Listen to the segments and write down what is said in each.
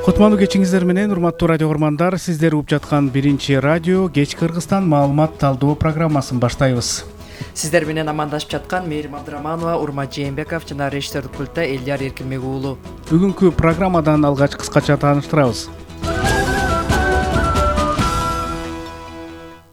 Кутмандуу кечиңиздер менен, урматтуу радио көрмандар, сиздер угуп жаткан биринчи радио кеч Кыргызстан маалымат талдоо программасын баштайбыз. Сиздер менен амандашып жаткан Мээрим Абдыраманова, Урмат Жээнбеков жана режиссердик пультта Элдияр Эркинбек уулу. Бүгүнкү программадан алгач кыскача тааныштырабыз.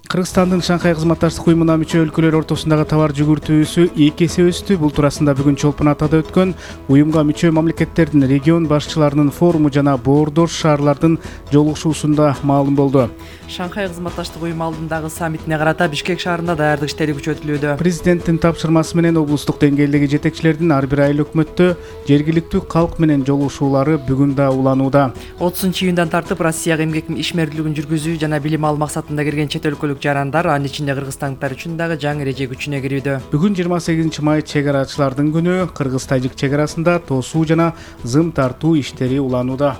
Кыргызстандын Шанхай кызматташтык уюмуна мүчө өлкөлөр ортосундагы товар жүгүртүүсү 2 эсе өстү. Бул туурасында бүгүн Чолпон Атада өткөн уюмга мүчө мамлекеттердин регион башчыларынын форуму жана боордош шаарлардын жолугушуусунда маалым болду. Шанхай кызматташтык уюму алдындагы саммитине карата Бишкек шаарында даярдык иштери күчөтүлүүдө. Президенттин тапшырмасы менен облустук деңгээлдеги жетекчилердин ар бир айыл өкмөттө жергиликтүү калк менен жолугушуулары бүгүн да уланууда. 30-июндан тартып Россияга эмгек ишмердүүлүгүн жүргүзүү жана билим алуу максатында кирген чет өлкөлүк жарандар, анын ичинде кыргызстандыктар үчүн дагы жаңы эреже күчүнө кирүүдө. Бүгүн 28 май чегарачылардын күнү. Кыргыз-тажик чегарасында тосуу жана зым тартуу иштери уланууда.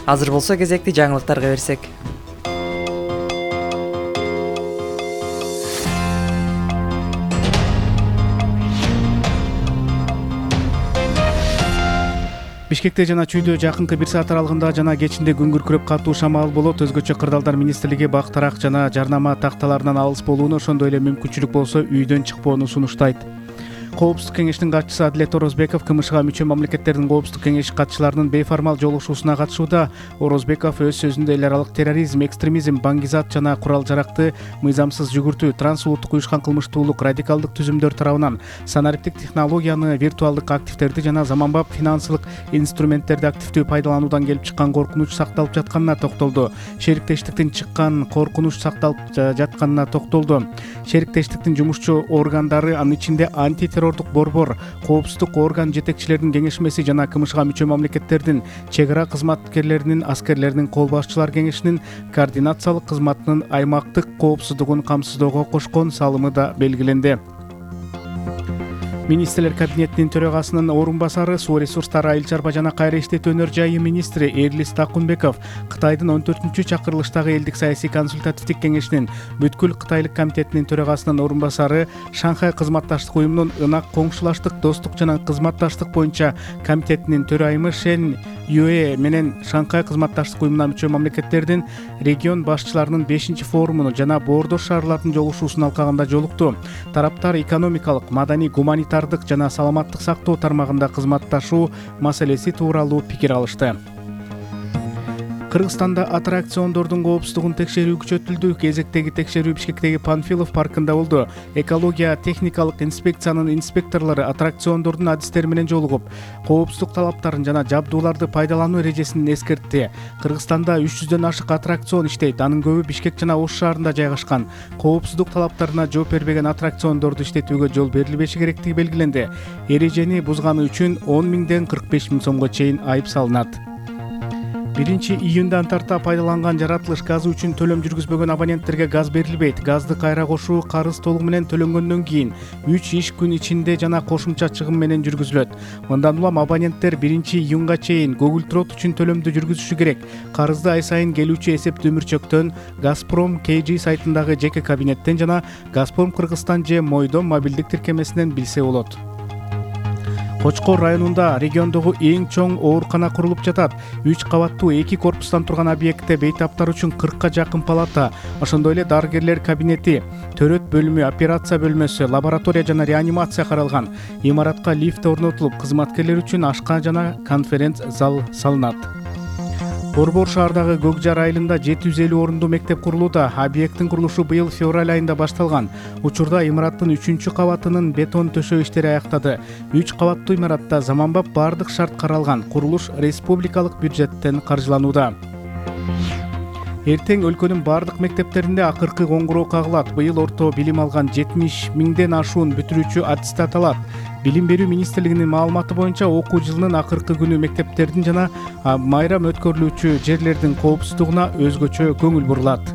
Азыр болсо кезекти жаңылыктарга берсек. Бишкекте жана Чүйдө жакынкы 1 саат аралыгында жана кечинде күн күркүрөп катуу шамал болот. Өзгөчө Кырдаалдар министрлиги бак-тарак жана жарнама такталарынан алыс болууну, ошондой эле мүмкүнчүлүк болсо үйдөн чыкпоону сунуштайт. Коопсуздук кеңешинин катчысы Адилет Орозбеков КМШга мүчө мамлекеттердин коопсуздук кеңеши катчыларынын бейформал жолугушуусуна катышууда. Орозбеков өз сөзүндө эл аралык терроризм, экстремизм, баңгизат жана курал-жаракты мыйзамсыз жүгүртүү, трансулуттук уюшкан кылмыштуулук, радикалдык түзүмдөр тарабынан санариптик технологияны, виртуалдык активдерди жана заманбап финансылык инструменттерди активдүү пайдалануудан келип чыккан коркунуч сакталып жатканына токтолду. Шериктештиктин чыккан коркунуч сакталып жатканына токтолду. Шериктештиктин жумушчу органдары, анын ичинде антитеррордук борбор, коопсуздук орган жетекчилеринин кеңешмеси жана КМШга мүчө мамлекеттердин чегара кызматкерлеринин, аскерлеринин кол башчылар кеңешинин координациялык кызматынын аймактык коопсуздугун камсыздоого кошкон салымы да белгиленди. Министрлер кабинетинин төрагасынын орун басары, суу ресурстары, айыл чарба жана кайра иштетүү өнөр жайы министри Эрлис Такунбеков Кытайдын 14-чү чакырылыштагы элдик саясий консультативдик кеңешинин бүткүл Кытайлык комитетинин төрагасынын орун басары, Шанхай кызматташтык уюмунун ынак коңшулаштык, достук жана кызматташтык боюнча комитетинин төрайымы Шен Юэ менен Шанхай кызматташтык уюмуна мүчө мамлекеттердин регион башчыларынын 5-форумуну жана боордош шаарлардын жолугушуусун алкагында жолукту. Тараптар экономикалык, маданий, гуманитардык жана саламаттык сактоо тармагында кызматташуу маселеси тууралуу пикир алышты. Кыргызстанда аттракциондордун коопсуздугун текшерүү күчөтүлдү. Кезектеги текшерүү Бишкектеги Панфилов паркында болду. Экология техникалык инспекциянын инспекторлору аттракциондордун адистери менен жолугуп, коопсуздук талаптарын жана жабдууларды пайдалануу эрежесин эскертти. Кыргызстанда 300дөн ашык аттракцион иштейт. Анын көбү Бишкек жана Ош шаарында жайгашкан. Коопсуздук талаптарына жооп бербеген аттракциондорду иштетүүгө жол берилбеши керектиги белгиленди. Эрежени бузганы үчүн 10 миңден 45 миң сомго чейин айып салынат. 1-июндан тарта пайдаланган жаратылыш газы үчүн төлөм жүргүзбөгөн абоненттерге газ берилбейт. Газды кайра кошуу карыз толугу менен төлөнгөндөн кийин 3 иш күн ичинде жана кошумча чыгым менен жүргүзүлөт. Мындан улам абоненттер 1-июнга чейин Google Trot үчүн төлөмдү жүргүзүшү керек. Карызды ай сайын келүүчү эсептүү мөрчөктөн, Газпром KG сайтындагы жеке кабинеттен жана Газпром Кыргызстан же Мойдом мобилдик тиркемесинен билсе болот. Кочкор районунда региондогу эң чоң оорукана курулуп жатат. 3 кабаттуу 2 корпустан турган объектте бейтаптар үчүн 40ка жакын палата, ошондой эле дарыгерлер кабинети, төрөт бөлүмү, операция бөлмөсү, лаборатория жана реанимация каралган. Имаратка лифт орнотулуп, кызматкерлер үчүн ашка жана конференц зал салынат. Борбор шаардагы Көкжар айылында 750 орундуу мектеп курулууда. Объекттин курулушу быйыл февраль айында башталган. Учурда имараттын 3-чү кабатынын бетон төшөө иштери аяктады. 3 кабаттуу имаратта заманбап бардык шарт каралган. Курулуш республикалык бюджеттен каржыланууда. Эртең өлкөнүн бардык мектептеринде акыркы коңгуроо кагылат. Быйыл орто билим алган 70 миңден ашуун бүтүрүүчү аттестат алат. Билим берүү министрлигинин маалыматы боюнча окуу жылынын акыркы күнү мектептердин жана майрам өткөрүлүүчү жерлердин коопсуздугуна өзгөчө көңүл бурулат.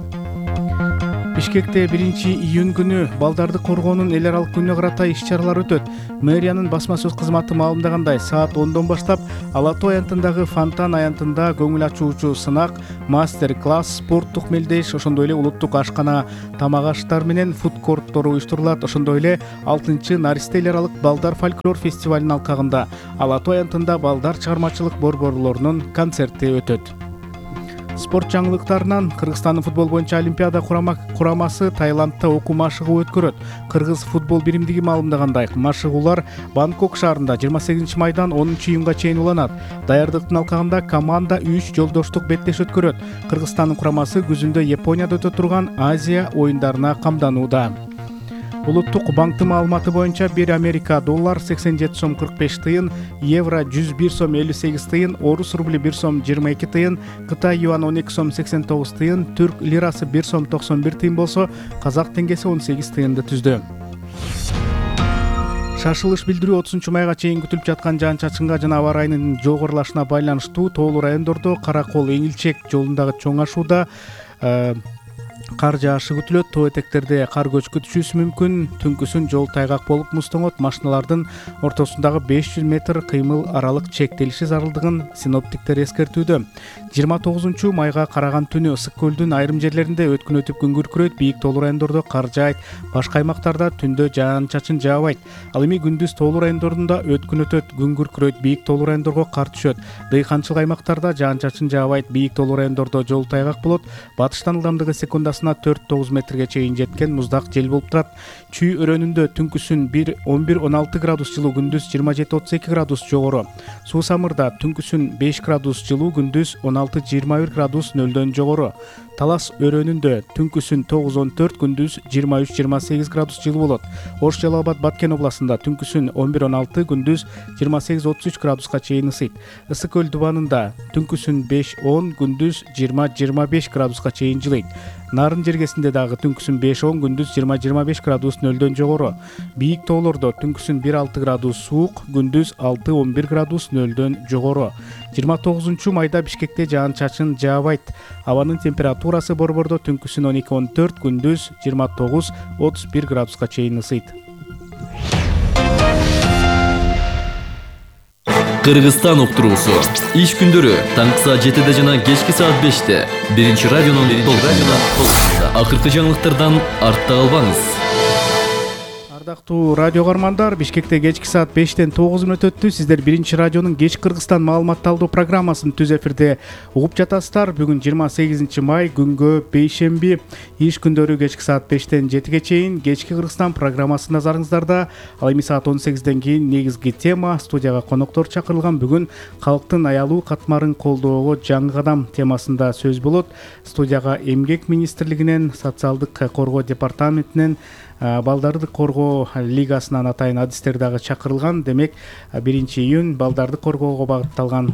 Бишкекте 1-июнь күнү балдарды коргоонун эл аралык күнүнө карата иш-чаралар өтөт. Мэриянын басма сөз кызматы маалымдагандай, саат 10дон баштап Ала Тоо аянтындагы Фонтан аянтында көңүл ачуучу сынак, мастер-класс, спорттук мелдеш, ошондой эле улуттук ашкана, тамак аштар менен фудкорттор уюштурулат. Ошондой эле 6-чы Наристе эл аралык балдар фольклор фестивалынын алкагында Ала Тоо аянтында балдар чыгармачылык борборлорунун концерти өтөт. Спорт жаңылыктарынан Кыргызстандын футбол боюнча Олимпиада курамасы Таиландда окуу машыгуу өткөрөт. Кыргыз футбол биримдиги маалымдагандай, машыгуулар Бангкок шаарында 28 майдан 10 июнга чейин уланат. Даярдыктын алкагында команда 3 жолдоштук беттеш өткөрөт. Кыргызстандын курамасы күзүндө Японияда өтө турган Азия оюндарына камданууда. Улуттук банктын маалыматы боюнча 1 Америка доллар 87 сом 45 тыйын, евро 101 сом 58 тыйын, орус рубли 1 сом 22 тыйын, Кытай юан 12 сом 89 тыйын, түрк лирасы 1 сом 91 тыйын болсо, казак теңгеси 18 тыйынды түздү. Шашылыш билдирүү 30 майга чейин күтүлүп жаткан жаан-чачынга жана аба ырайынын жогорулашына байланыштуу тоолуу райондордо Каракол Эңилчек жолундагы чоң ашууда кар жаашы күтүлөт. Тоо этектерде кар көчкү түшүүсү мүмкүн. Түнкүсүн жол тайгак болуп муздоңот. Машиналардын ортосундагы 500 метр кыймыл аралык чектелиши зарылдыгын синоптиктер эскертүүдө. 29 майга караган түнү Ысык көлдүн айрым жерлеринде өткүн өтүп күн күркүрөйт, бийик тоолуу райондордо кар жаайт. Башка аймактарда түндө жаан-чачын жаабайт. Ал эми күндүз тоолуу райондорунда өткүн өтөт, күн күркүрөйт, бийик тоолуу райондорго кар түшөт. Дыйканчылык аймактарда жаан-чачын жаабайт, бийик тоолуу райондордо жол тайгак болот. Батыштан ылдамдыгы секундасына 4-9 метрге чейин жеткен муздак жел болуп турат. Чүй өрөөнүндө түнкүсүн 11-16 градус жылуу, күндүз 27-32 градус жогору. Суу Самырда түнкүсүн 5 градус жылуу, күндүз 16-21 градус нөлдөн жогору. Талас өрөөнүндө түнкүсүн 9-14, күндүз 23-28 градус жылуу болот. Ош Жалал Абад Баткен областында түнкүсүн 11-16, күндүз 28-33 градуска чейин ысыйт. Ысык көл дубанында түнкүсүн 5-10, күндүз 20-25 градуска чейин жылыйт. Нарын жергесинде дагы түнкүсүн 5-10, күндүз 20-25 градус нөлдөн жогору. Бийик тоолордо түнкүсүн 1-6 градус суук, күндүз 6-11 градус нөлдөн жогору. 29 майда Бишкекте жаан-чачын жаабайт. Абанын температурасы борбордо түнкүсүн 12-14, күндүз 29-31 градуска чейин ысыйт. Кыргызстан уктуруусу. Иш күндөрү таңкы саат 7-де жана кечки саат 5-те. Биринчи радионун толкунунда. Акыркы жаңылыктардан артта калбаңыз. Ардактуу радио каармандар, Бишкекте кечки саат 5-тен 9 мүнөт өттү. Сиздер биринчи радионун кеч Кыргызстан маалыматталдоо программасын түз эфирде угуп жатасыздар. Бүгүн 28 май, күнгө бейшемби. Иш күндөрү кечки саат 5-тен 7-ге чейин кечки Кыргызстан программасы назарыңыздарда. Ал эми саат 18-ден кийин негизги тема, студияга коноктор чакырылган. Бүгүн калктын аялуу катмарын колдоого жаңы кадам темасында сөз болот. Студияга Эмгек министрлигинен, социалдык коргоо департаментинен, балдарды коргоо лигасынан атайын адистер дагы чакырылган. Демек 1-июнь балдарды коргоого багытталган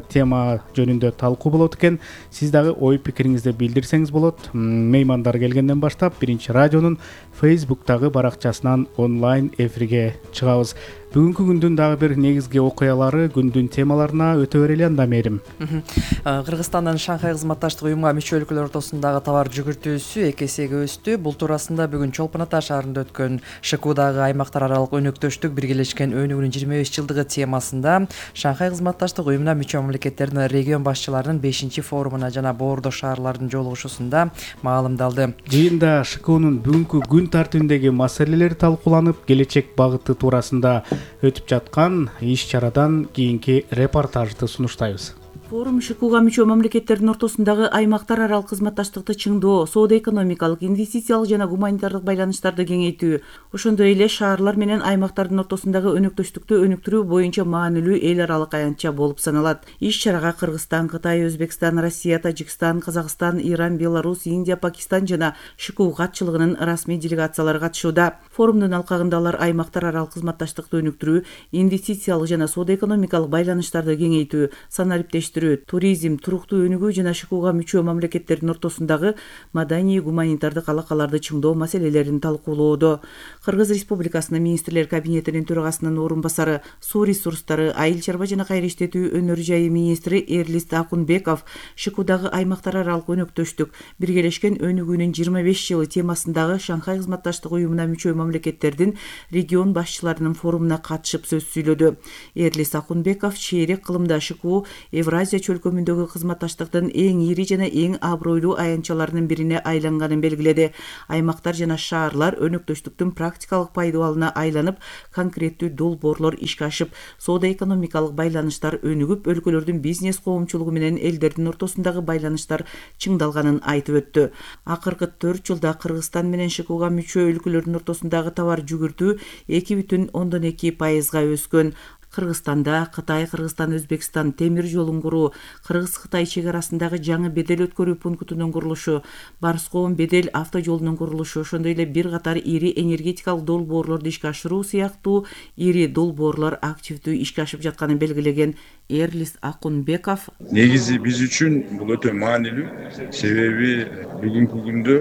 тема жөнүндө талкуу болот экен. Сиз дагы ой пикириңизди билдирсеңиз болот. Меймандар келгенден баштап биринчи радионун Facebook'тагы баракчасынан онлайн эфирге чыгабыз. Бүгүнкү күндүн дагы бир негизги окуялары, күндүн темаларына өтө берели анда Мерим. Кыргызстандын Шанхай кызматташтык уюмга мүчө өлкөлөр ортосундагы товар жүгүртүүсү 2 эсеге өстү. Бул туурасында бүгүн Чолпон Ата шаарында өткөн ШКУдагы аймактар аралык өнөктөштүк биргелешкен өнүгүүнүн 25 жылдыгы темасында Шанхай кызматташтык уюмуна мүчө мамлекеттердин регион башчыларынын 5-форумуна жана боордош шаарлардын жолугушуусунда маалымдалды. Жыйында ШКУнун бүгүнкү күн тартибиндеги маселелери талкууланып, келечек багыты туурасында өтүп жаткан иш-чарадан кийинки репортажды сунуштайбыз. Форум ШКУга мүчө мамлекеттердин ортосундагы аймактар аралык кызматташтыкты чыңдоо, соода-экономикалык, инвестициялык жана гуманитардык байланыштарды кеңейтүү, ошондой эле шаарлар менен аймактардын ортосундагы өнөктөштүктү өнүктүрүү боюнча маанилүү эл аралык аянтча болуп саналат. Иш-чарага Кыргызстан, Кытай, Өзбекстан, Россия, Тажикстан, Казакстан, Иран, Беларусь, Индия, Пакистан жана ШКУ катчылыгынын расмий делегациялары катышууда. Форумдун алкагында алар аймактар аралык кызматташтыкты өнүктүрүү, инвестициялык жана соода-экономикалык байланыштарды кеңейтүү, сан ариптештүү, тештирүү, туризм, туруктуу өнүгүү жана ШКУга мүчө мамлекеттердин ортосундагы маданий гуманитардык алакаларды чыңдоо маселелерин талкуулоодо. Кыргыз Республикасынын министрлер кабинетинин төрагасынын орун басары, суу ресурстары, айыл чарба жана кайра иштетүү өнөр жайы министри Эрлис Акунбеков ШКУдагы аймактар аралык өнөктөштүк, биргелешкен өнүгүүнүн 25 жылы темасындагы Шанхай кызматташтык уюмуна мүчө мамлекеттердин регион башчыларынын форумуна катышып сөз сүйлөдү. Эрлис Акунбеков чейрек кылымда ШКУ Евразия чөлкөмүндөгү кызматташтыктын эң ири жана эң абройлуу аянтчаларынын бирине айланганын белгиледи. Аймактар жана шаарлар өнөктөштүктүн практикалык пайдалууна айланып, конкреттүү долбоорлор ишке ашып, соода-экономикалык байланыштар өнүгүп, өлкөлөрдүн бизнес коомчулугу менен элдердин ортосундагы байланыштар чыңдалганын айтып өттү. Акыркы 4 жылда Кыргызстан менен ШКУга мүчө өлкөлөрдүн ортосундагы товар жүгүртүү 2,2%га өскөн. Кыргызстанда Кытай, Кыргызстан, Өзбекстан темир жолун куруу, Кыргыз-Кытай чек арасындагы жаңы бедел өткөрүү пунктунун курулушу, Барскоон бедел автожолунун курулушу, ошондой эле бир катар ири энергетикалык долбоорлорду ишке ашыруу сыяктуу ири долбоорлор активдүү ишке ашып жатканын белгилеген Эрлис Акунбеков: негизи биз үчүн бул өтө маанилүү, себеби бүгүнкү күндө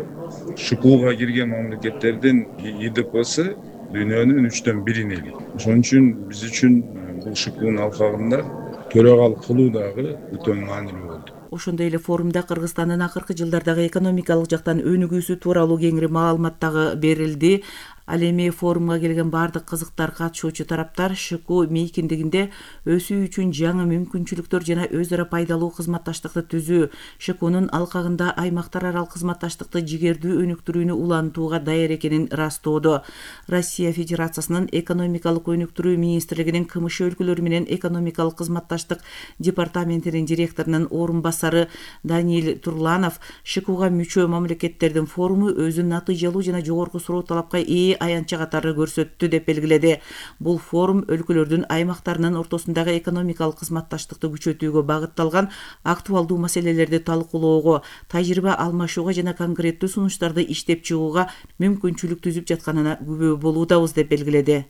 ШКУга кирген мамлекеттердин ИДПсы дүйнөнүн 1/3 элек. Ошон үчүн биз үчүн бул ШКУнун алкагында төрагалык кылуу дагы өтө маанилүү болду. Ошондой эле форумда Кыргызстандын акыркы жылдардагы экономикалык жактан өнүгүүсү тууралуу кеңири маалымат дагы берилди. Ал эми форумга келген бардык кызыктар катышуучу тараптар ШКУ мейкиндигинде өсүү үчүн жаңы мүмкүнчүлүктөр жана өз ара пайдалуу кызматташтыкты түзүү, ШКУнун алкагында аймактар аралык кызматташтыкты жигердүү өнүктүрүүнү улантууга даяр экенин ырастоодо. Россия Федерациясынын экономикалык өнүктүрүү министрлигинин КМШ өлкөлөрү менен экономикалык кызматташтык департаментинин директорунун орун басары Даниил Турланов ШКУга мүчө мамлекеттердин форуму өзүн натыйжалуу жана жогорку суроо талапка ээ аянтча катары көрсөттү деп белгиледи. Бул форум өлкөлөрдүн аймактарынын ортосундагы экономикалык кызматташтыкты күчөтүүгө багытталган актуалдуу маселелерди талкуулоого, тажрыйба алмашууга жана конкреттүү сунуштарды иштеп чыгууга мүмкүнчүлүк түзүп жатканына күбө болуудабыз деп белгиледи.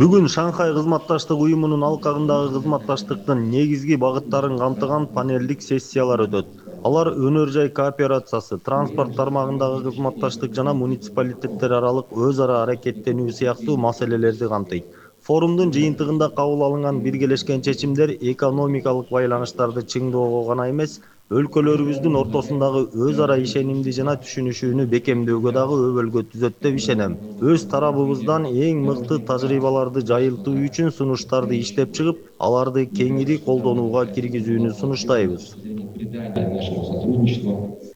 Бүгүн Шанхай кызматташтык уюмунун алкагындагы кызматташтыктын негизги багыттарын камтыган панелдик сессиялар өтөт. Алар өнөр жай кооперациясы, транспорт тармагындагы кызматташтык жана муниципалитеттер аралык өз ара аракеттенүү сыяктуу маселелерди камтыйт. Форумдун жыйынтыгында кабыл алынган биргелешкен чечимдер экономикалык байланыштарды чыңдоого гана эмес, өлкөлөрүбүздүн ортосундагы өз ара ишенимди жана түшүнүшүүнү бекемдөөгө дагы өбөлгө түзөт деп ишенем. Өз тарабыбыздан эң мыкты тажрыйбаларды жайылтуу үчүн сунуштарды иштеп чыгып, аларды кеңири колдонууга киргизүүнү сунуштайбыз.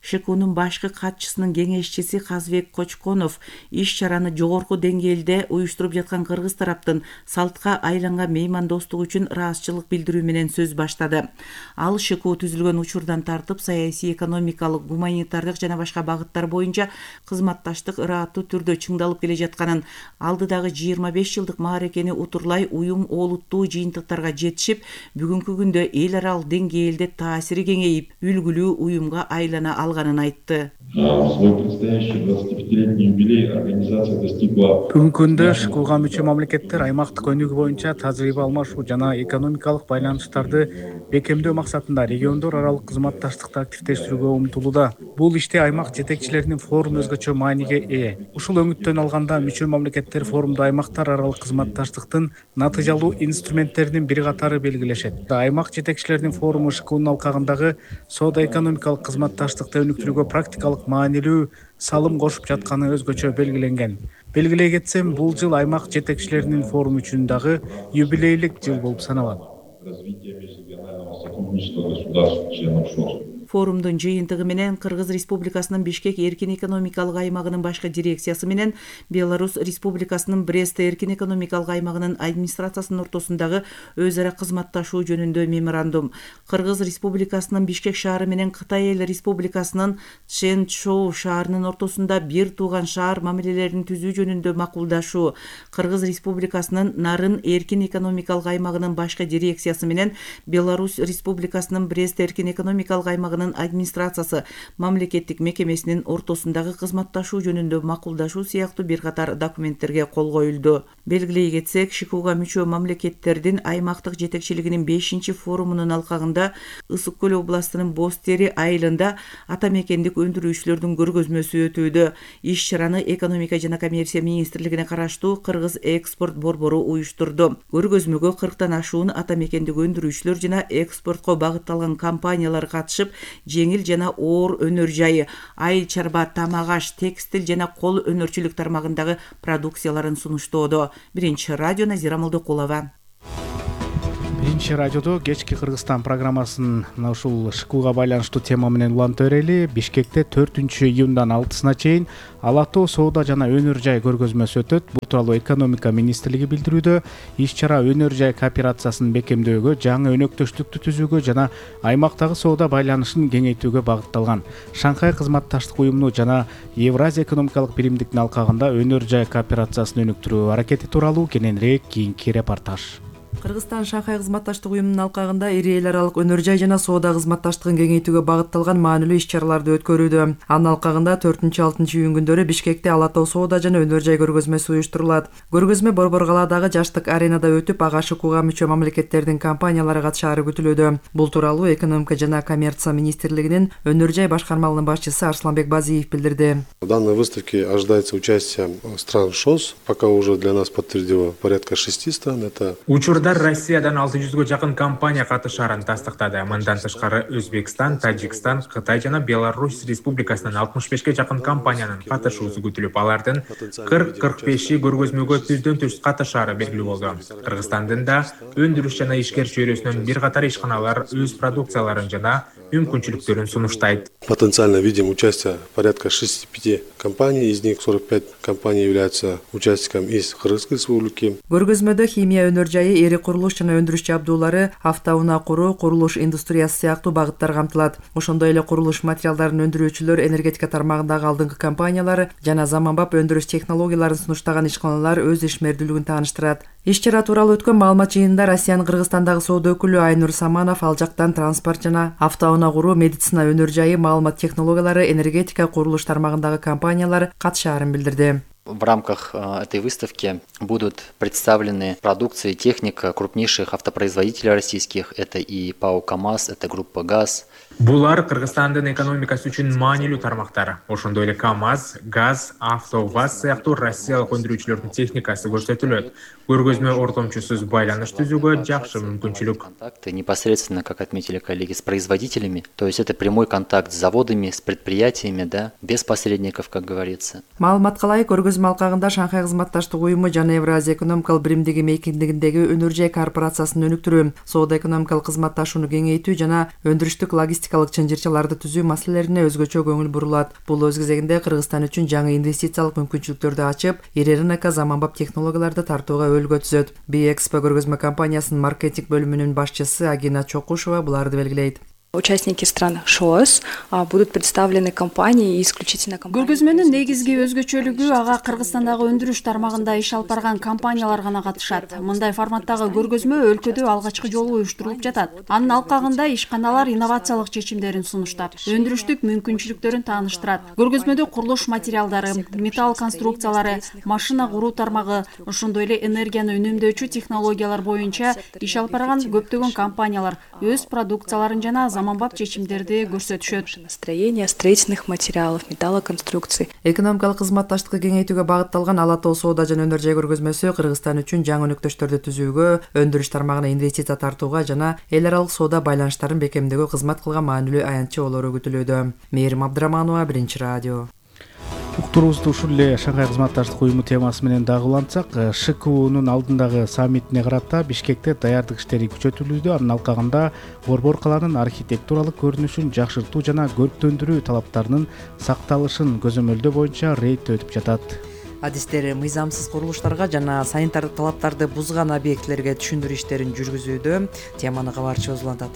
ШКУнун башкы катчысынын кеңешчиси Казбек Кочконов иш-чараны жогорку деңгээлде уюштуруп жаткан кыргыз тараптын салтка айланган меймандостук үчүн ыраазычылык билдирүү менен сөз баштады. Ал ШКУ түзүлгөн учурдан тартып саясий, экономикалык, гуманитардык жана башка багыттар боюнча кызматташтык ырааттуу түрдө чыңдалып келе жатканын, алдыдагы 25 жылдык мааракени утурлай уюм олуттуу жыйынтыктарга жетишип, бүгүнкү күндө эл аралык деңгээлде таасири кеңейип, үлгүлүү уюмга айлана алганын айтты. Бүгүнкү күндө ШКУга мүчө мамлекеттер аймактык өнүгүү боюнча тажрыйба алмашуу жана экономикалык байланыштарды бекемдөө максатында региондор аралык кызматташтыкты активдештирүүгө умтулууда. Бул иште аймак жетекчилеринин форуму өзгөчө мааниге ээ. Ушул өңүттөн алганда мүчө мамлекеттер форумда аймактар аралык кызматташтыктын натыйжалуу инструменттеринин бир катары белгилешет. Аймак жетекчилеринин форуму ШКУнун алкагындагы соода-экономикалык кызматташтыкты өнүктүрүүгө практикалык маанилүү салым кошуп жатканы өзгөчө белгиленген. Белгилей кетсем, бул жыл аймак жетекчилеринин форуму үчүн дагы юбилейлик жыл болуп саналат. Форумдун жыйынтыгы менен Кыргыз Республикасынын Бишкек эркин экономикалык аймагынын башкы дирекциясы менен Беларусь Республикасынын Брест эркин экономикалык аймагынын администрациясынын ортосундагы өз ара кызматташуу жөнүндө меморандум, Кыргыз Республикасынын Бишкек шаары менен Кытай Эл Республикасынын Чжэнчжоу шаарынын ортосунда бир тууган шаар мамилелерин түзүү жөнүндө макулдашуу, Кыргыз Республикасынын Нарын эркин экономикалык аймагынын башкы дирекциясы менен Беларусь Республикасынын Брест эркин экономикалык аймагынын аймагынын администрациясы мамлекеттик мекемесинин ортосундагы кызматташуу жөнүндө макулдашуу сыяктуу бир катар документтерге кол коюлду. Белгилей кетсек, ШИКУга мүчө мамлекеттердин аймактык жетекчилигинин 5-форумунун алкагында Ысык Көл областынын Боз Тери айылында ата мекендик өндүрүүчүлөрдүн көргөзмөсү өтүүдө. Иш-чараны экономика жана коммерция министрлигине караштуу Кыргыз экспорт борбору уюштурду. Көргөзмөгө 40тан ашуун ата мекендик өндүрүүчүлөр жана экспортко багытталган компаниялар катышып, жеңил жана оор өнөр жайы, айыл чарба, тамак аш, текстил жана кол өнөрчүлүк тармагындагы продукцияларын сунуштоодо. Биринчи радио, Назира Молдокулова. Биринчи радиодо кечки Кыргызстан программасын мына ушул ШИКУга байланыштуу тема менен улантып берели. Бишкекте 4-июндан 6-сына чейин Ала Тоо соода жана өнөр жай көргөзмөсү өтөт. Бул тууралуу экономика министрлиги билдирүүдө. Иш-чара өнөр жай кооперациясын бекемдөөгө, жаңы өнөктөштүктү түзүүгө жана аймактагы соода байланышын кеңейтүүгө багытталган. Шанхай кызматташтык уюму жана Евразия экономикалык биримдиктин алкагында өнөр жай кооперациясын өнүктүрүү аракети тууралуу кененирээк кийинки репортаж. Кыргызстан Шанхай кызматташтык уюмунун алкагында ири эл аралык өнөр жай жана соода кызматташтыгын кеңейтүүгө багытталган маанилүү иш-чараларды өткөрүүдө. Анын алкагында 4-6 күндөрү Бишкекте Ала Тоо соода жана өнөр жай көргөзмөсү уюштурулат. Көргөзмө Борбор калаадагы жаштык аренада өтүп, ага ШИКУга мүчө мамлекеттердин компаниялары катышаары күтүлүүдө. Бул тууралуу экономика жана коммерция министрлигинин өнөр жай башкармалыгынын башчысы Арсланбек Базиев билдирди. В данной выставке ожидается участие стран ШОС. Пока уже для нас подтвердило порядка 6 стран. Это Россиядан 600-гө жакын компания катышаарын тастыктады. Мындан тышкары Өзбекстан, Тажикстан, Кытай жана Беларусь республикасынан 65ке жакын компаниянын катышуусу күтүлүп, алардын 40-45 көргөзмөгө түздөн-түз катышаары белгилүү болду. Кыргызстандын да өндүрүш жана ишкер чөйрөсүнөн бир катар ишканалар өз продукцияларын жана мүмкүнчүлүктөрүн сунуштайт. Потенциально видим участие порядка 65 компаний, из них 45 компаний являются участником из Кыргызской республики. Көргөзмөдө химия өнөр жайы, эри курулуш жана өндүрүш жабдуулары, автоунаа куруу, курулуш индустриясы сыяктуу багыттар камтылат. Ошондой эле курулуш материалдарын өндүрүүчүлөр, энергетика тармагындагы алдыңкы компаниялар жана заманбап өндүрүш технологияларын сунуштаган ишканалар өз ишмердүүлүгүн тааныштырат. Иш-чара тууралуу өткөн маалымат жыйынында Россиянын Кыргызстандагы соода өкүлү Айнур Саманов ал жактан транспорт жана автоунаа куруу, медицина өнөр жайы, маалымат технологиялары, энергетика, курулуш тармагындагы компаниялар катышаарын билдирди. В рамках этой выставки будут представлены продукции и техника крупнейших автопроизводителей российских. Это и ПАО КамАЗ, это группа ГАЗ. Булар Кыргызстандын экономикасы үчүн маанилүү тармактар. Ошондой эле КамАЗ, ГАЗ, АвтоВАЗ сыяктуу россиялык өндүрүүчүлөрдүн техникасы көрсөтүлөт. Көргөзмө ортомчусуз байланыш түзүүгө жакшы мүмкүнчүлүк. Контакты непосредственно, как отметили коллеги, с производителями. То есть это прямой контакт с заводами, с предприятиями, да, без посредников, как говорится. Маалыматка ылайык, көргөзмө алкагында Шанхай кызматташтык уюму жана Евразия экономикалык биримдиги мейкиндигиндеги өнөр жай корпорациясын өнүктүрүү, соода экономикалык кызматташууну кеңейтүү жана өндүрүштүк логистикалык чынжырчаларды түзүү маселелерине өзгөчө көңүл бурулат. Бул өз кезегинде Кыргызстан үчүн жаңы инвестициялык мүмкүнчүлүктөрдү ачып, ИРНК заманбап технологияларды тартууга өөлгө түзөт. Биэкспо көргөзмө компаниясынын маркетинг бөлүмүнүн башчысы Агина Чокушева буларды белгилейт. Участники стран ШОС будут представлены компании исключительно компании. Көргөзмөнүн негизги өзгөчөлүгү ага Кыргызстандагы өндүрүш тармагында иш алып барган компаниялар гана катышат. Мындай форматтагы көргөзмө өлкөдө алгачкы жолу уюштурулуп жатат. Анын алкагында ишканалар инновациялык чечимдерин сунуштап, өндүрүштүк мүмкүнчүлүктөрүн тааныштырат. Көргөзмөдө курулуш материалдары, металл конструкциялары, машина куруу тармагы, ошондой эле энергияны үнөмдөөчү технологиялар боюнча иш алып барган көптөгөн компаниялар өз продукцияларын жана заманбап чечимдерди көрсөтүшөт. Строение строительных материалов, металлоконструкций. Экономикалык кызматташтыкты кеңейтүүгө багытталган Ала Тоо соода жана өнөр жай көргөзмөсү Кыргызстан үчүн жаңы өнөктөштөрдү түзүүгө, өндүрүш тармагына инвестиция тартууга жана эл аралык соода байланыштарын бекемдөөгө кызмат кылган маанилүү аянтчы болору күтүлүүдө. Мээрим Абдыраманова, Биринчи радио. Уктуруубузду ушул эле Шанхай кызматташтык уюму темасы менен дагы улантсак, ШИКУнун алдындагы саммитине карата Бишкекте даярдык иштери күчөтүлүүдө. Анын алкагында Борбор калаанын архитектуралык көрүнүшүн жакшыртуу жана көрктөндүрүү талаптарынын сакталышын көзөмөлдөө боюнча рейд өтүп жатат. Адистер мыйзамсыз курулуштарга жана санитардык талаптарды бузган объектилерге түшүндүрүү иштерин жүргүзүүдө. Теманы кабарчыбыз улантат.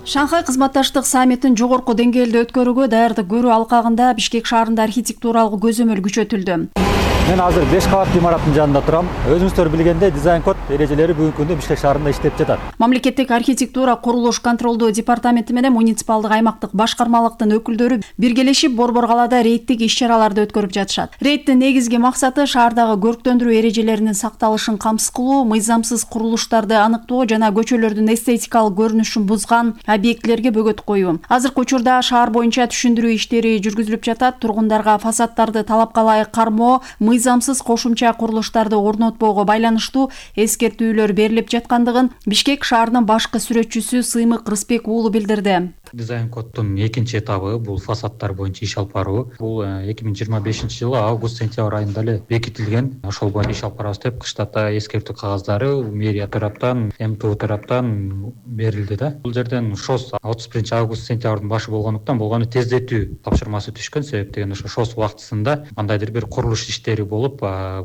Шанхай кызматташтык саммитин жогорку деңгээлде өткөрүүгө даярдык көрүү алкагында Бишкек шаарында архитектуралык көзөмөл күчөтүлдү. Мен азыр 5 кабаттуу имараттын жанында турам. Өзүңүздөр билгендей, дизайн код эрежелери бүгүнкү күндө Бишкек шаарында иштеп жатат. Мамлекеттик архитектура курулуш контролдоо департаменти менен муниципалдык аймактык башкармалыктын өкүлдөрү биргелешип Борбор калаада рейдтик иш-чараларды өткөрүп жатышат. Рейдтин негизги максаты шаардагы көрктөндүрүү эрежелеринин сакталышын камсыз кылуу, мыйзамсыз курулуштарды аныктоо жана көчөлөрдүн эстетикалык көрүнүшүн бузган объектилерге бөгөт коюу. Азыркы учурда шаар боюнча түшүндүрүү иштери жүргүзүлүп жатат. Тургундарга фасаддарды талапка ылайык кармоо, мыйзамсыз кошумча курулуштарды орнотпоого байланыштуу эскертүүлөр берилип жаткандыгын Бишкек шаарынын башкы сүрөтчүсү Сыймык Рыспек уулу билдирди. Дизайн коддун экинчи этабы бул фасаддар боюнча иш алып баруу. Бул 2025-жылы август-сентябрь айында эле бекитилген. Ошол боюнча иш алып барабыз деп кыштата эскертүү кагаздары мэрия тараптан, МТУ тараптан берилди да. Бул жерден ШОС 31-август-сентябрдын башы болгондуктан болгону тездетүү тапшырмасы түшкөн. Себептен ошо ШОС убактысында кандайдыр бир курулуш иштери болуп,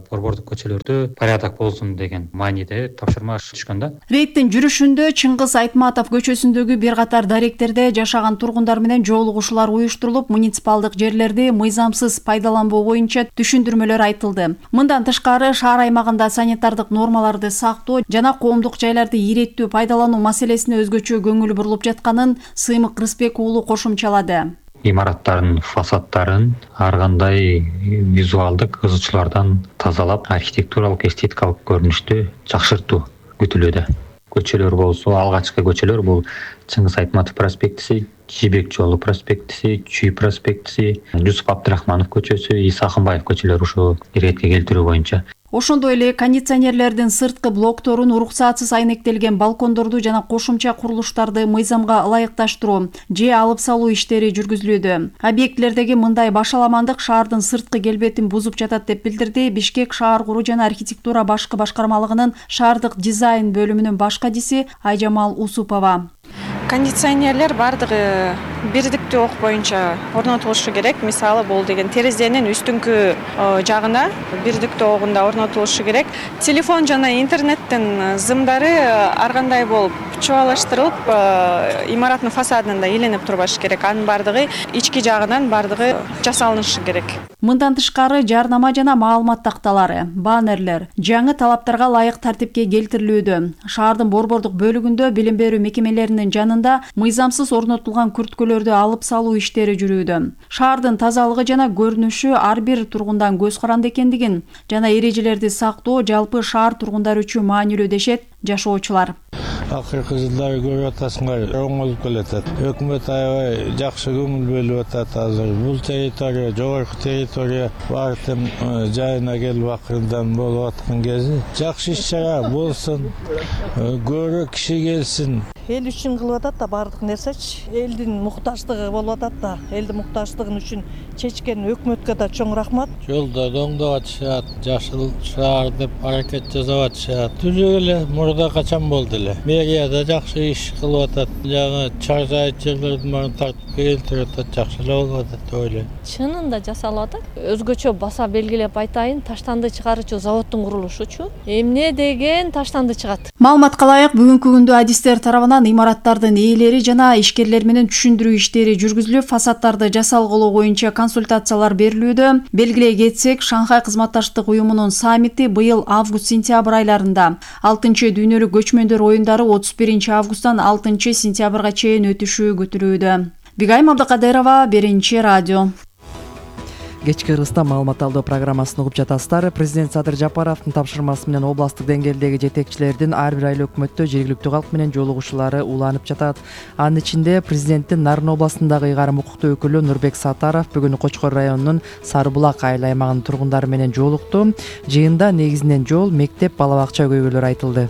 борбордук көчөлөрдө порядок болсун деген мааниде тапшырма түшкөн да. Рейдтин жүрүшүндө Чыңгыз Айтматов көчөсүндөгү бир катар даректерде жашаган тургундар менен жолугушуулар уюштурулуп, муниципалдык жерлерди мыйзамсыз пайдаланбоо боюнча түшүндүрмөлөр айтылды. Мындан тышкары шаар аймагында санитардык нормаларды сактоо жана коомдук жайларды иреттүү пайдалануу маселесине өзгөчө көңүл бурулуп жатканын Сыймык Рыспек уулу кошумчалады. Имараттардын фасаддарын ар кандай визуалдык ызычуулардан тазалап, архитектуралык эстетикалык көрүнүштү жакшыртуу күтүлүүдө. Көчөлөр болсо, алгачкы көчөлөр бул Чыңгыз Айтматов проспектиси, Жибек жолу проспектиси, Чүй проспектиси, Жусуп Абдрахманов көчөсү, Иса Акынбаев көчөлөрү ушу иретке келтирүү боюнча. Ошондой эле кондиционерлердин сырткы блокторун, уруксатсыз айнектелген балкондорду жана кошумча курулуштарды мыйзамга ылайыкташтыруу же алып салуу иштери жүргүзүлүүдө. Объектилердеги мындай башаламандык шаардын сырткы келбетин бузуп жатат деп билдирди Бишкек шаар куруу жана архитектура башкы башкармалыгынын шаардык дизайн бөлүмүнүн баш кадиси Айжамал Усупова. Кондиционерлер бардыгы бирдиктүү ок боюнча орнотулушу керек. Мисалы бул деген терезенин үстүңкү жагына бирдиктүү огунда орнотулушу керек. Телефон жана интернеттин зымдары ар кандай болуп чубалаштырылып, имараттын фасадында иленип турбашы керек. Анын бардыгы ички жагынан бардыгы жасалынышы керек. Мындан тышкары жарнама жана маалымат такталары, баннерлер жаңы талаптарга ылайык тартипке келтирилүүдө. Шаардын борбордук бөлүгүндө билим берүү мекемелеринин жанында мыйзамсыз орнотулган күрткөлөрдү алып салуу иштери жүрүүдө. Шаардын тазалыгы жана көрүнүшү ар бир тургундан көз каранды экендигин жана эрежелерди сактоо жалпы шаар тургундары үчүн маанилүү дешет жашоочулар. Акыркы жылдары көрүп атасыңар, оңолуп келатат. Өкмөт аябай жакшы көңүл бөлүп атат азыр. Бул территория, жогорку территория баардык жайына келип акырдан болуп аткан кези. Жакшы иш-чара болсун, көрө киши келсин. Эл үчүн кылып атат да баардык нерсечи. Элдин муктаждыгы болуп атат да. Элдин муктаждыгын үчүн чечкен өкмөткө да чоң рахмат. Жолдорду оңдоп атышат, жашыл шаар деп аракет жасап атышат. Түзүп эле мурда качан болду эле. Мэрияда жакшы иш кылып атат. Жаңы чаржайт жерлердин баарын тартып келтирип атат, жакшы эле болуп атат деп ойлойм. Чынында жасалып атат. Өзгөчө баса белгилеп айтайын, таштанды чыгаруучу заводдун курулушучу. Эмне деген таштанды чыгат. Маалыматка ылайык бүгүнкү күндө адистер тарабынан имараттардын ээлери жана ишкерлер менен түшүндүрүү иштери жүргүзүлүп, фасаддарды жасалгылоо боюнча консультациялар берилүүдө. Белгилей кетсек, Шанхай кызматташтык уюмунун саммити быйыл август-сентябрь айларында, 6-чы дүйнөлүк көчмөндөр оюндары 31-августтан 6-сентябрга чейин өтүшү күтүлүүдө. Бигайым Абдыкадырова, Биринчи радио. Кечки Кыргызстан маалымат алдоо программасын угуп жатасыздар. Президент Садыр Жапаровдун тапшырмасы менен областтык деңгээлдеги жетекчилердин ар бир айла өкмөттө жергиликтүү калк менен жолугушуулары уланып жатат. Анын ичинде президенттин Нарын областындагы ыйгарым укуктуу өкүлү Нурбек Сатаров бүгүн Кочкор районунун Сарыбулак айыл аймагынын тургундары менен жолукту. Жыйында негизинен жол, мектеп, бала бакча көйгөйлөрү айтылды.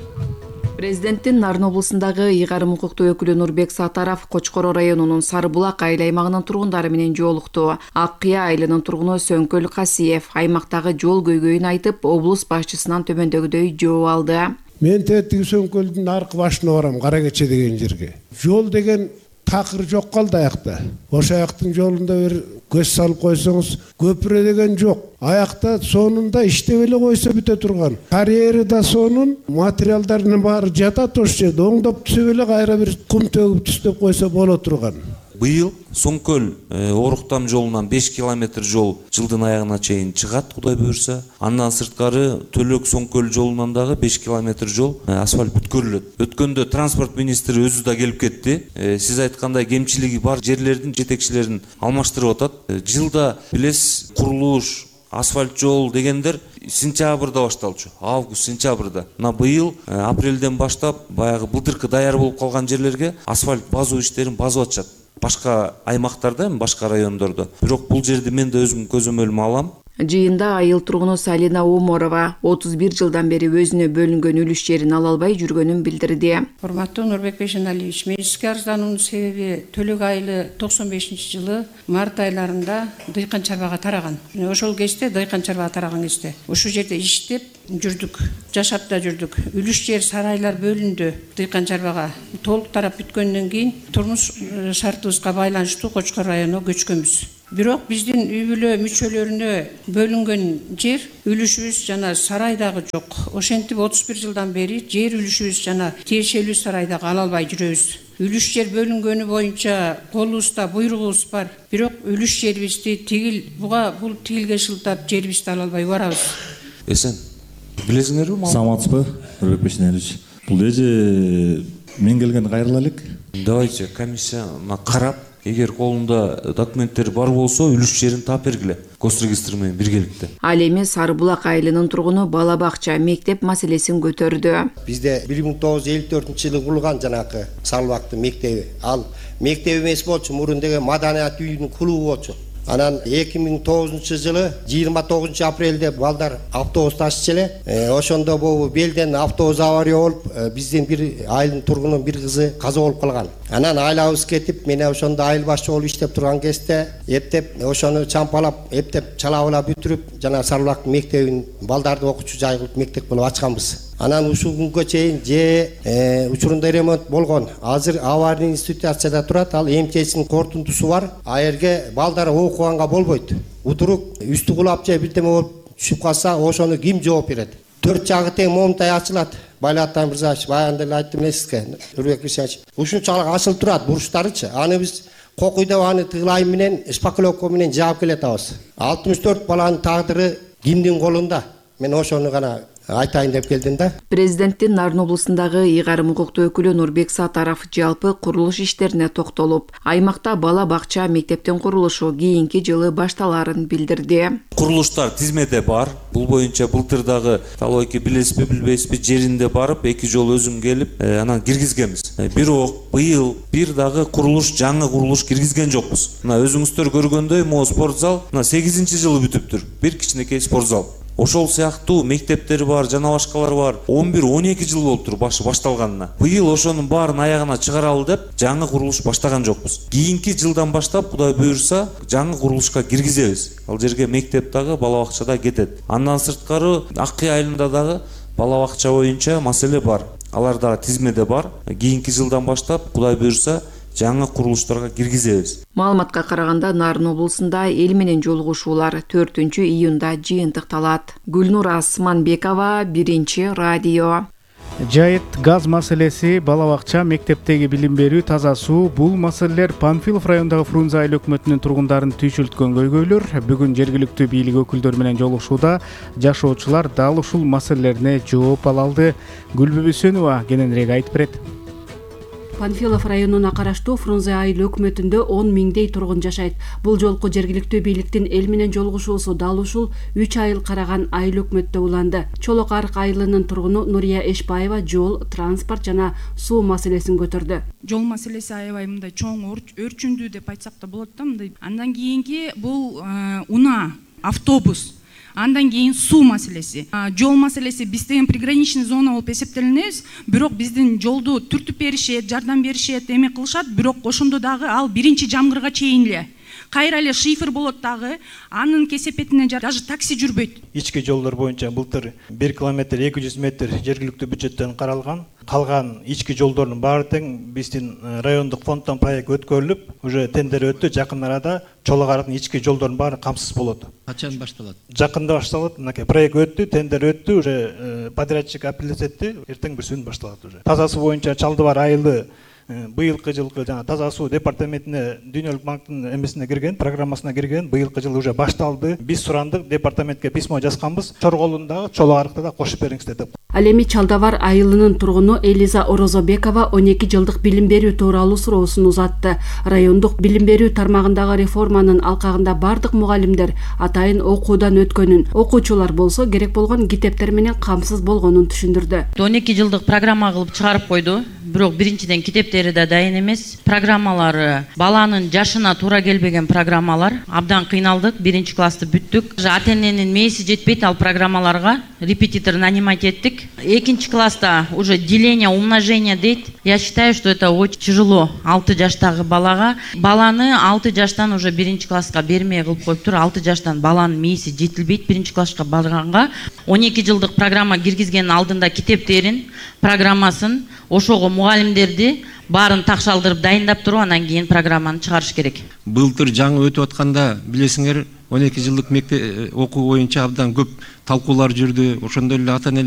Президенттин Нарын областындагы ыйгарым укуктуу өкүлү Нурбек Сатаров Кочкор районунун Сарыбулак айыл аймагынын тургундары менен жолукту. Ак Кыя айылынын тургуну Сөңкөл Касиев аймактагы жол көйгөйүн айтып, облус башчысынан төмөндөгүдөй жооп алды. Мен тетиги Сөңкөлдүн аркы башына барам, Кара Кече деген жерге. Жол деген такыр жок калды аякта. Ошо аяктын жолунда бир көз салып койсоңуз, көпүрө деген жок. Аякта сонунда иштеп эле койсо бүтө турган. Карьери да сонун, материалдардын баары жатат ошол жерде. Оңдоп түзөп эле кайра бир кум төгүп түстөп койсо боло турган. Быйыл Соңкөл Оруктам жолунан 5 километр жол жылдын аягына чейин чыгат, Кудай буюрса. Андан сырткары Төлөк Соңкөл жолунан дагы 5 километр жол асфальт бүткөрүлөт. Өткөндө транспорт министри өзү да келип кетти. Сиз айткандай кемчилиги бар жерлердин жетекчилерин алмаштырып атат. Жылда билесиз, курулуш, асфальт жол дегендер сентябрда башталчу. Август, сентябрда. Мына быйыл апрелден баштап баягы былтыркы даяр болуп калган жерлерге асфальт базуу иштерин базып атышат. Башка аймактарда, башка райондордо. Бирок бул жерди мен да өзүм көзөмөлүмө алам. Жыйында айыл тургуну Салина Оморова 31 жылдан бери өзүнө бөлүнгөн үлүш жерин ала албай жүргөнүн билдирди. Урматтуу Нурбек Бейшеналиевич, мен сизге арыздануунун себеби Төлөк айылы 95-жылы март айларында дыйкан чарбага тараган. Ошол кезде дыйкан чарбага тараган кезде ушул жерде иштеп жүрдүк, жашап да жүрдүк. Үлүш жер сарайлар бөлүндү дыйкан чарбага. Толук тарап бүткөндөн кийин турмуш шартыбызга байланыштуу Кочкор районуна көчкөнбүз. Бирок биздин үй бүлө мүчөлөрүнө бөлүнгөн жер үлүшүбүз жана сарайдагы жок. Ошентип 31 жылдан бери жер үлүшүбүз жана тиешелүү сарайдагы ала албай жүрөбүз. Үлүш жер бөлүнгөнү боюнча колубузда буйругубуз бар. Бирок үлүш жерибизди буга бул тигилге шылтап жерибизди ала албай барабыз. Эсен, билесиңерби? Саламатсызбы, Нурбек Бейшеналиевич? Бул эже мен келгенде кайрыла элек. Давайте комиссия карап, эгер колунда документтер бар болсо, үлүш жерин таап бергиле. Госрегистр менен биргеликте. Ал эми Сарыбулак айылынын тургуну бала бакча, мектеп маселесин көтөрдү. Бизде 1954-жылы курулган жанакы Сарыбулактын мектеби. Ал мектеп эмес болчу, мурун деген маданият үйүнүн клубу болчу. Анан 2009-жылы 29 апрелде балдар автобус ташчу эле. Ошондо бул белден автобус авария болуп, биздин бир айылдын тургунунун бир кызы каза болуп калган. Анан айлабыз кетип, мен ошондо айыл башчы болуп иштеп турган кезде эптеп ошону чампалап, эптеп чалабыла бүтүрүп, жана Сарыбулактын мектебин балдарды окуучу жай кылып мектеп кылып ачканбыз. Анан ушул күнгө чейин учурунда ремонт болгон. Азыр аварийный ситуацияда турат. Ал МЧСнин кортунтусу бар. А жерге балдар окуганга болбойт. Утурук үстү кулап же бирдеме болуп түшүп калса, ошону ким жооп берет? 4 жагы тең момунтай ачылат. Байлаттан Мырзаевич, баягында эле айттым эле Нурбек Бейшеналиевич. Ушунчалык ачылып турат бурчтарычы. Аны биз кокуйдап аны тыгылайым менен, шпаклевка менен жаап келатабыз. 64 баланын тагдыры кимдин колунда? Мен ошону гана айтайын деп келдим да. Президенттин Нарын облусундагы ыйгарым укуктуу өкүлү Нурбек Сатаров жалпы курулуш иштерине токтолуп, аймакта бала бакча, мектептин курулушу кийинки жылы башталарын билдирди. Курулуштар тизмеде бар. Бул боюнча былтырдагы талбайке билесизби, билбейсизби, жеринде барып, 2 жолу өзүм келип, анан киргизгенбиз. Бирок быйыл бир дагы курулуш, жаңы курулуш киргизген жокпуз. Мына өзүңүздөр көргөндөй, могу спортзал мына 8-жылы бүтүптүр. Бир кичинекей спортзал. Ошол сыяктуу мектептер бар, жана башкалар бар. 11-12 жыл болуптур башталганына. Быйыл ошонун баарын аягына чыгаралы деп, жаңы курулуш баштаган жокпуз. Кийинки жылдан баштап, Кудай буюрса, жаңы курулушка киргизебиз. Ал жерге мектеп дагы, бала бакча да кетет. Андан сырткары Аккый айылында дагы бала бакча боюнча маселе бар. Алар дагы тизмеде бар. Кийинки жылдан баштап, Кудай буюрса, жаңы курулуштарга киргизебиз. Маалыматка караганда Нарын облусунда эл менен жолугушуулар 4-июнда жыйынтыкталат. Гүлнур Асманбекова, 1-радио. Жайыт, газ маселеси, бала бакча, мектептеги билим берүү, таза суу, бул маселелер Панфилов райондагы Фрунзе айыл өкмөтүнүн тургундарын түйшүлткөн көйгөйлөр. Бүгүн жергиликтүү бийлик өкүлдөрү менен жолугушууда жашоочулар дал ушул маселелерине жооп ала алды. Гүлбү Бүсөнова кененирээк айтып берет. Панфилов районуна караштуу Фрунзе айыл өкмөтүндө 10 миңдей тургун жашайт. Бул жолку жергиликтүү бийликтин эл менен жолугушуусу дал ушул 3 айыл караган айыл өкмөттө уланды. Чолок Арык айылынын тургуну Нурия Эшбаева жол, транспорт жана суу маселесин көтөрдү. Жол маселеси аябай мындай чоң өрчүндүү деп айтсак да болот да, мындай. Андан кийинки бул унаа, автобус. Андан кийин суу маселеси. Жол маселеси биз деген приграничный зона болуп эсептелинебиз, бирок биздин жолду түртүп беришет, жардам беришет, эме кылышат, бирок ошондо дагы ал 1-жамгырга чейин эле. Кайра эле шифр болот дагы, анын кесепетине даже такси жүрбөйт. Ички жолдор боюнча былтыр 1 километр 200 метр жергиликтүү бюджеттен каралган. Калган ички жолдордун баары тең биздин райондук фонддон проект өткөрүлүп, уже тендер өттү. Жакын арада Чолок Арыктын ички жолдордун баары камсыз болот. Качан башталат? Жакында башталат. Мынакей проект өттү, тендер өттү, уже подрядчик апелляция этти, эртең бүрсүн башталат уже. Тазасы боюнча Чалдыбар айылы быйылкы жылкы жана таза суу департаментине Дүйнөлүк банктын эмесине кирген, программасына кирген. Быйылкы жыл уже башталды. Биз сурандык, департаментке письмо жазганбыз. Чорголундагы, Чолок арыкта да кошуп бериңиздер деп. Ал эми Чалдабар айылынын тургуну Элиза Орозобекова 12 жылдык билим берүү тууралуу суроосун узатты. Райондук билим берүү тармагындагы реформанын алкагында бардык мугалимдер атайын окуудан өткөнүн, окуучулар болсо керек болгон китептер менен камсыз болгонун түшүндүрдү. 12 жылдык программа кылып чыгарып койду. Бирок биринчиден китептери да дайын эмес. Программалары баланын жашына туура келбеген программалар. Абдан кыйналдык. 1-классты бүттүк. Ата-эненин мээси жетпейт ал программаларга. Репетитор нанимать эттик. 2-класста уже деление, умножение дейт. Я считаю, что это очень тяжело 6 жаштагы балага. Баланы 6 жаштан уже 1-класска бермей кылып коюптур. 6 жаштан баланын мээси жетилбейт 1-класска барганга. 12 жылдык программа киргизгендин алдында китептерин, программасын, ошого мугалимдерди баарын такшалдырып дайындап туруп, анан кийин программаны чыгарыш керек. Былтыр жаңы өтүп атканда билесиңер 12 жылдык мектеп окуу боюнча абдан көп талкуулар жүрдү. Ошондой эле ата-энелер